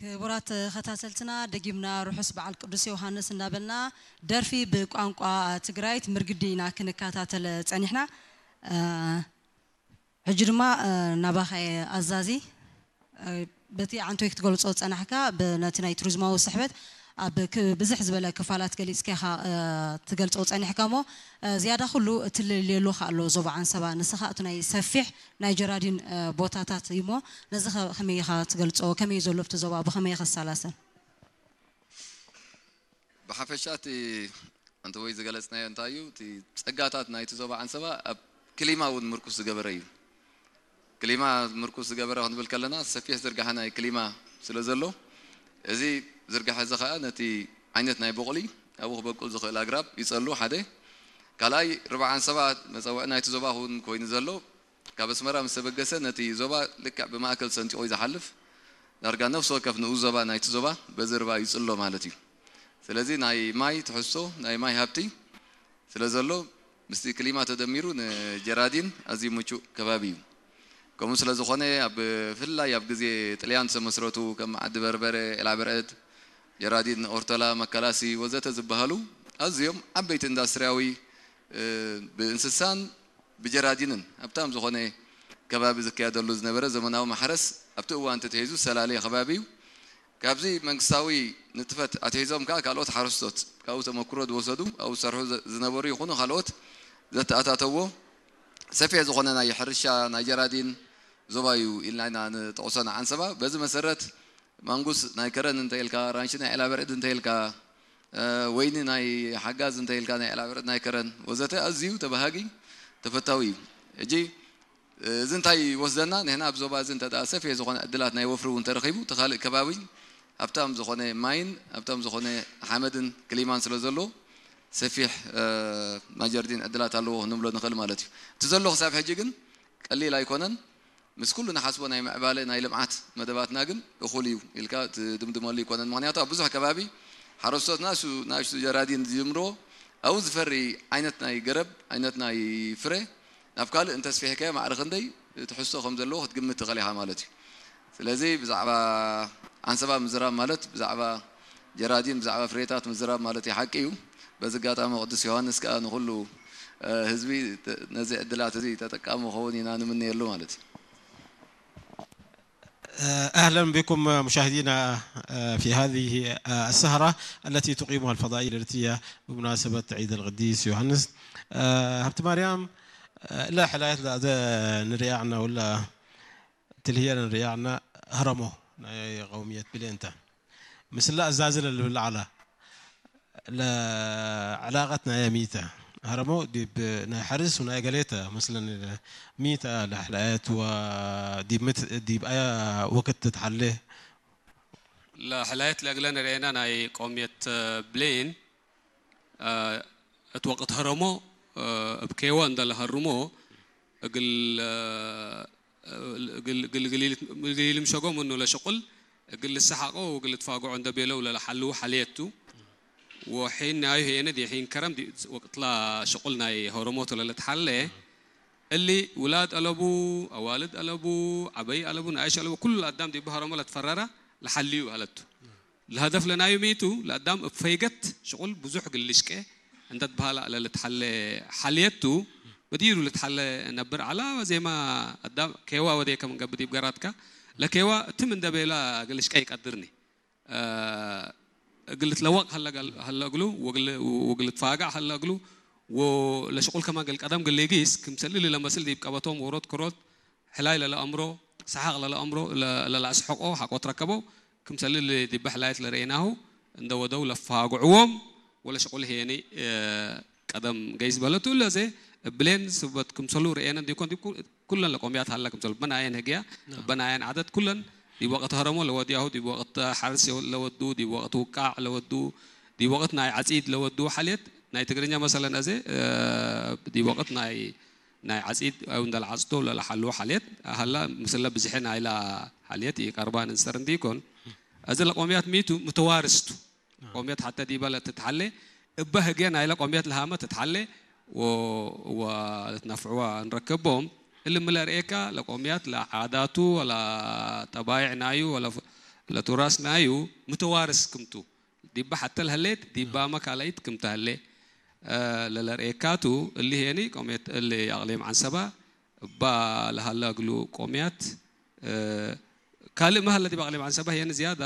ክቡራት ተኸታተልትና፣ ደጊምና ርሑስ በዓል ቅዱስ ዮሃንስ እንዳበልና፣ ደርፊ ብቋንቋ ትግራይት ምርግዲ ኢና ክንከታተል ጸኒሕና። እ፣ ሕጂ ድማ፣ እ፣ ናባኸ ኣዛዚ፣ እ፣ በቲ ዓንቶይ ክትገልጾ ጸናሕካ፣ ብ-፣ ነቲ ናይ ቱሪዝማዊ ስሕበት ኣብ ክ-፣ ብዝሕ ዝበለ ክፋላት ገሊጽካ ኢኻ፣ እ፣ ትገልጾ ጸኒሕካ እሞ፣ እ፣ ዝያዳ ኩሉ እትልልየሉ ከ ኣሎ ዞባ ዓንሰባ። ንስኻ እቲ ናይ ሰፊሕ ናይ ጀራዲን፣ እ፣ ቦታታት እዩ እሞ፣ ነዚ ከ-፣ ከመይ ኢኻ ትገልጾ? ከመይ እዩ ዘሎ ኣብቲ ዞባ? ብኸመይ ይኸሳላሰል? ብሓፈሻ እቲ ኣንተ ወይ ዝገለጽናዮ እንታይ እዩ? እቲ ጸጋታት ናይቲ ዞባ ዓንሰባ ኣብ ክሊማ እውን ምርኩስ ዝገበረ እዩ። ክሊማ ምርኩስ ዝገበረ ክንብል ከለና፣ ሰፊሕ ዝርጋሐ ናይ ክሊማ ስለ ዘሎ፣ እዚ ዝርጋሐ እዚ ኸኣ ነቲ ዓይነት ናይ ቦቕሊ ኣብኡ ክበቁል ዝኽእል ኣግራብ ይጸሉ፣ ሓደ። ካልኣይ፣ ርብዓ ዓንሰባ መጸውዒ ናይቲ ዞባ እውን ኮይኑ ዘሎ፣ ካብ ኣስመራ ምስ ተበገሰ ነቲ ዞባ ልክዕ ብማእከል ሰንጢቑ እዩ ዝሓልፍ። ዳርጋ ነፍሲ ወከፍ ንኡስ ዞባ ናይቲ ዞባ በዚ ርባ ይጽሎ ማለት እዩ። ስለዚ ናይ ማይ ትሕዝቶ፣ ናይ ማይ ሃብቲ ስለ ዘሎ፣ ምስቲ ክሊማ ተደሚሩ ንጀራዲን ኣዝዩ ምቹእ ከባቢ እዩ። ከምኡ ስለ ዝኾነ፣ ኣብ ብፍላይ ኣብ ግዜ ጥልያን ዝተመስረቱ ከም ዓዲ በርበረ፣ ዒላብርዕድ፣ ጀራዲን፣ ኦርቶላ፣ መከላሲ ወዘተ ዝበሃሉ ኣዝዮም ዓበይቲ ኢንዳስትሪያዊ፣ እ፣ ብእንስሳን ብጀራዲንን ሃብታም ዝኾነ ከባቢ ዝካየደሉ ዝነበረ ዘመናዊ ማሕረስ ኣብቲ እዋን ተተሂዙ ሰላሌ ከባቢ እዩ። ካብዚ መንግስታዊ ንጥፈት ኣትሒዞም ከኣ ካልኦት ሓረስቶት ካብኡ ተመክሮ ዝወሰዱ፣ ኣብኡ ዝሰርሑ ዘ-፣ ዝነበሩ ይኹኑ ካልኦት ዘተኣታተዎ ሰፊሕ ዝኾነ ናይ ሕርሻ ናይ ጀራዲን ዞባ እዩ ኢልና ኢና ንጠቕሶ ንዓንሰባ። በዚ መሰረት ማንጉስ ናይ ከረን እንተ ኢልካ፣ ራንሺ ናይ ዒላበርዕድ እንተ ኢልካ፣ እ፣ ወይኒ ናይ ሓጋዝ እንተ ኢልካ፣ ናይ ዒላበርዕድ ናይ ከረን ወዘተ ኣዝዩ ተባሃጊ ተፈታዊ እዩ። ሕጂ እዚ እንታይ ይወስደና? ንሕና ኣብ ዞባ እዚ እንተ ደኣ ሰፊሕ ዝኾነ ዕድላት ናይ ወፍሪ እውን ተረኺቡ፣ እቲ ካልእ ከባቢ ሃብታም ዝኾነ ማይን ሃብታም ዝኾነ ሓመድን ክሊማን ስለ ዘለዎ፣ ሰፊሕ፣ እ፣ ናይ ጀርዲን ዕድላት ኣለዎ ክንብሎ ንኽእል ማለት እዩ። እቲ ዘሎ ክሳብ ሕጂ ግን ቀሊል ኣይኮነን። ምስ ኩሉ ንሓስቦ ናይ ምዕባለ ናይ ልምዓት መደባትና ግን እኹል እዩ ኢልካ ትድምድመሉ ኣይኮነን። ምኽንያቱ ኣብ ብዙሕ ከባቢ ሓረስቶት ናሱ-፣ ናእሽቱ ጀራዲን ዝጅምርዎ ኣብኡ ዝፈሪ ዓይነት ናይ ገረብ፣ ዓይነት ናይ ፍረ ናብ ካልእ እንተስፊሕካዮ ማዕረ ክንደይ ትሕዝቶ ከም ዘለዎ ክትግምት ትኽእል ኢኻ ማለት እዩ። ስለዚ ብዛዕባ ዓንሰባ ምዝራብ ማለት ብዛዕባ ጀራዲን፣ ብዛዕባ ፍሬታት ምዝራብ ማለት እዩ፣ ሓቂ እዩ። በዚ ኣጋጣሚ ቅዱስ ዮሃንስ ከኣ ንኹሉ፣ እ፣ ህዝቢ ተ-፣ ነዚ ዕድላት እዚ ተጠቃሚ ክኸውን ኢና ንምነየሉ ማለት እዩ። أهلا بكم مشاهدينا في هذه السهرة التي تقيمها الفضائية الإريترية بمناسبة عيد القديس يوحنس. هبت مريم، لا حلايت لا نريعنا ولا تلهي نريعنا هرمو قومية بلينتا. مثل لا أزازل اللي بالعلا. ለዕላቐት ናይ ሚተ ሀረሞ ዲብ ናይ ሐርስ ናይ ገሌተ መስለን ሚተ ለሕላየት ወዲብ ምት ዲብ ኣያ ወቅት ትትሓሌ ለሕላየት ለእግለ ንርኤና ናይ ቆምየት ብሌን እት ወቅት ሀረሞ እብ ኬወ እንደ ለሀርሞ እግል እግል እግል እግል ኢልምሸጎ ምኑ ለሽቁል እግል ልሰሓቆ ወእግል ልትፋግዖ እንደ ቤለው ለለሓልዉ ሓልየት ቱ። ወሒን ናዩ ህየነ ዲሒን ከረም ወቅትላ ሽቁል ናይ ሆረሞት ለልትሓለ እሊ ውላድ አለቡ፣ አዋልድ አለቡ፣ ዐበይ አለቡ፣ ነኣይሽ አለቡ፣ ኩሉ ለአዳም ዲብ ሆረሞ ለትፈረረ ለሓልዩ ሀለቱ። ለሀደፍ ለናዩ ሚቱ ለአዳም እብ ፈይገት ሽቁል ብዙሕ እግል ልሽቄ እንተ ትበሀላ ለልትሓለ ሓልየት ቱ። በዲሩ ልትሓለ ነብር ዐላ ዜማ አዳም ኬዋ ወዴከ ምን ገብእ ዲብ ገራትካ ለኬዋ ትም እንደ ቤላ እግል ልሽቄ ይቀድርኒ። እግል ልትለወቅ ሀለ እግሉ ወእግል ልትፋጋዕ ሀለ እግሉ ወለሽቁል ከማን እግል ቀደም እግል ሊጊስ ክምሰል እሊ ለመስል ዲብ ቀበቶም ዎሮት ክሮት ሕላይ ለለአምሮ ሰሓቅ ለለአምሮ ለለአስሕቆ ሐቆ ትረከቦ ክምሰል እሊ ዲበ ሕላየት ለርኤናሁ እንደ ወደው ለፋግዕዎም ወለሽቁል ህየኒ ቀደም ገይስ በለቱ እለ ዘ እብሌን ስበት ክምሰሉ ርኤነ እንዲኮን ዲብ ኩለን ለቆምያት ሀለ ክምሰሉ እበናየን ህግያ እበናየን ዓደት ኩለን ዲብ ወቅት ሀረሞ ለወድያሁ ዲብ ወቅት ሐርስ ለወዱ ዲብ ወቅት ውቃዕ ለወዱ ዲብ ወቅት ናይ ዓጺድ ለወዱ ሓልየት ናይ ትግርኛ መሰለን አዜ ዲብ ወቅት ናይ ናይ ዓጺድ አው እንደ ለዓጽዶ ለለሓልዎ ሓልየት ሀላ ምስለ ብዝሐ ናይላ ሓልየት ኢቀርባ ንንሰር እንዲኮን አዜ ለቆምያት ሚቱ ምተዋርስቱ ቆምየት ሐተ ዲበ ለትትሐሌ እበ ህግየ ናይለ ቆምየት ለሃመ ትትሐሌ ወ- ወልትነፍዕዋ እንረክቦም እሊ ምለ ርኤካ ለቆምያት ለዓዳቱ ወላ ጠባይዕ ናዩ ወላ ፍ- ለቱራስ ናዩ ምተዋርስ ክምቱ ዲባ ሓተል ሀሌት ዲባመ ካልኣይት ክምተ ሀሌ ለለርእየካቱ እሊ ሄኒ ቆሜት እሊ ኣቕሌም ዓንሰባ እባ ለሃላ እግሉ ቆሜያት ካልእ መሀለ ዲብ ኣቕሌም ዓንሰባ ሄኒ ዝያዳ